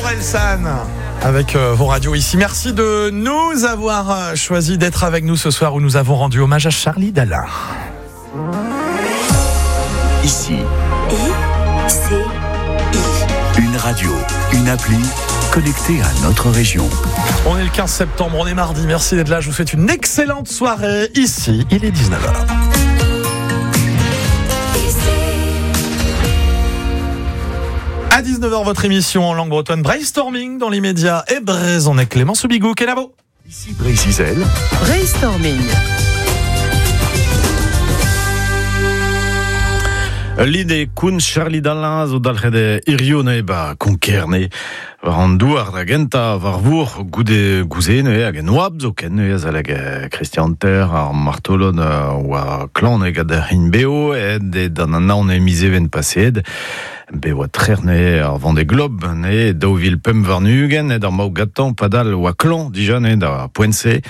Orelsan avec vos radios ici. Merci de nous avoir choisi d'être avec nous ce soir où nous avons rendu hommage à Charlie Dalin. Ici. I, C, I. Une radio, une appli connectée à notre région. On est le 15 septembre, on est mardi. Merci d'être là. Je vous souhaite une excellente soirée. Ici, il est 19h. À 19h, votre émission en langue bretonne Brainstorming dans l'immédiat et Brezhoneg Clément Soubigou. Kenavo. Ici Brésil. Brainstorming. Lide koun Charlie Dalin zo dalc'het hirio neuze ba Konkerne war an douar da genta war vour goude gouze neuze hag en oab zo ken neuze azalek Christian Ter ar martolon oa klan gant ar hin beo ed e d'an anaon e mizeven paseet be oa trer neuze ar Vendée Globe neuze 2005 warn-ugent ed ar maou gatañ padal oa klan dija neuze da poent-se.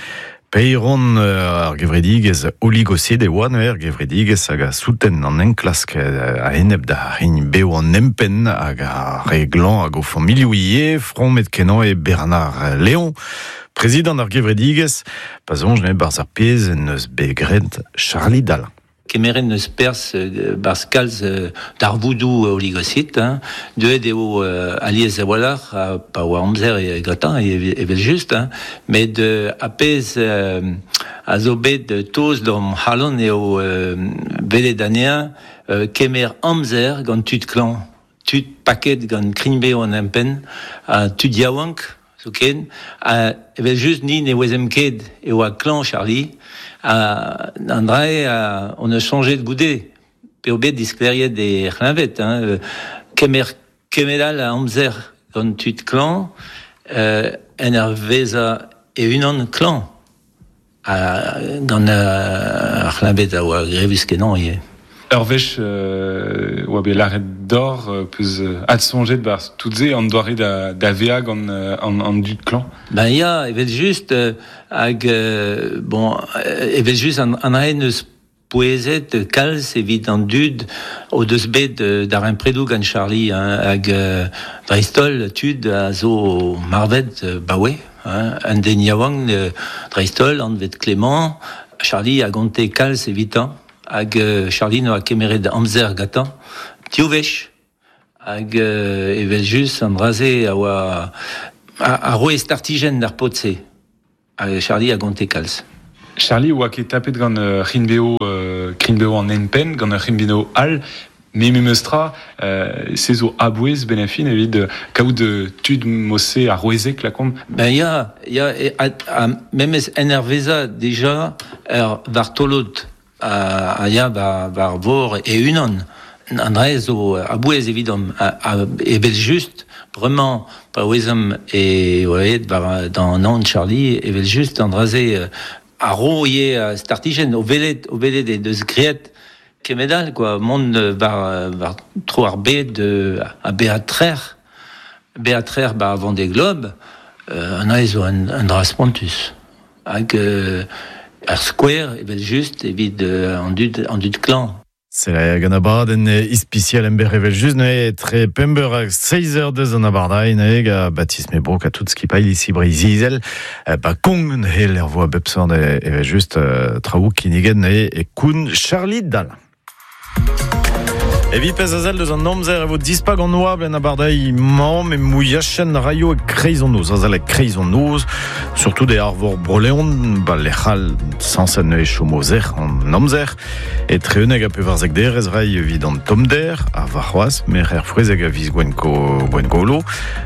Peiron ar gevredigez oligocide e oa neuze ar gevredigez hag a souten an enklask a enep da hini beo an empenn hag a re glan hag o familhoù ivez, fromet kenañ e Bernard Léon, prezidant ar gevredigez, pa soñj neuze barzh ar pezh en deus bet graet Charlie Dalin. Kemeret neus perzh barzh kalz darvoudoù oligocid, hein. Deuet eo alies a-walc'h ha pa oa amzer gantañ evel-just, hein. Met ar pezh a zo bet toz d'am c'halon eo welet anezhañ kemer amzer gant tud klañv, tud paket gant krign-bev an empenn, ha tud yaouank zoken. Ha evel-just ni ne ouezemp ket e oa klañv Charlie. Ha an dra-se hon eus soñjet goude p'eo bet disklêriet e c'hleñved, hein, kemer kement all a amzer gant tud klañv en ur vezañ e-unan klañv. Ha gant ar c'hleñved a oa grevus-kenañ ivez. Ur wech oa bet lâret deoc'h peus adsoñjet 'barzh tout-se an doare da vezañ gant an dud klañv. Ben ya, evel-just, hag bon, evel-just an dra neus pouezet kalz evit an dud o deus bet darempredoù gant Charlie, hein, hag dreist-holl tud a zo marvet baoe, hein, un den yaouank dreist-holl anvet Clément, Charlie a gonte kalz evitañ. Hag Charlie noa kemeret amzer gantañ div wech. Hag evel-just an dra-se a oa a roe startijenn d'ar paotr-se. Hag Charlie a gonte kalz. Charlie oa ket tapet gant ur c'hrign-bev krign-bev an empenn, gant ur c'hrign-bev all, met memes tra, se zo a-bouez benn ar fin evit kaout tud mod-se arouezek lakaomp. Ben ya, ya, ha memes en ur vezañ dija ur vartolod a ya war vor e-unan. An dra zo a-bouez evidomp. Evel-just, bremañ, pa ouezomp e oa aet war d'an anv Charlie, evel-just, an dra-se a ro ivez startijenn o welet, o welet he deus graet kement all, quoi, mont war, war tro ar bed ha bezañ trec'h, bezañ trec'h 'ba Vendée Globe, an dra zo un dra spontus. Hag ar skouer, evel-just, evit an dud, an dud klañv. C'est gant abadenn ispisial emberr evel-just neuze etre pemp eur hag seizh eur deus an abardaez neuze ga Baptiste Mebroc ha tout skipailh ici Breizh-Izel ba Kong neuze lec'h 'vo a bep seurt evel-just traoù kinniget neuze e koun Charlie Dalin. Evit pezh a sell deus an amzer e vo dispak an oabl en abardaez-mañ met mouilhachenn raio e kreiz an noz, azalek kreiz an noz, surtout e arvor Bro-Leon, ba lec'h all sañset neuze chomo sec'h an amzer. Etre 11 ha 14 derez ray evit an tommder, ha warc'hoazh merc'her frouezhek a viz Gwengolo.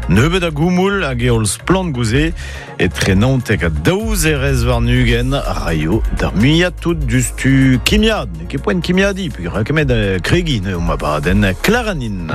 Nebeut a goumoul hag heol splann gouze. Etre 19 ha daou zerez warn-ugent raio d'ar muiañ tout diouzhtu kimiad. N'eo ket poent kimiadiñ, peogwir kemet kregiñ eo ma badenn Claranin.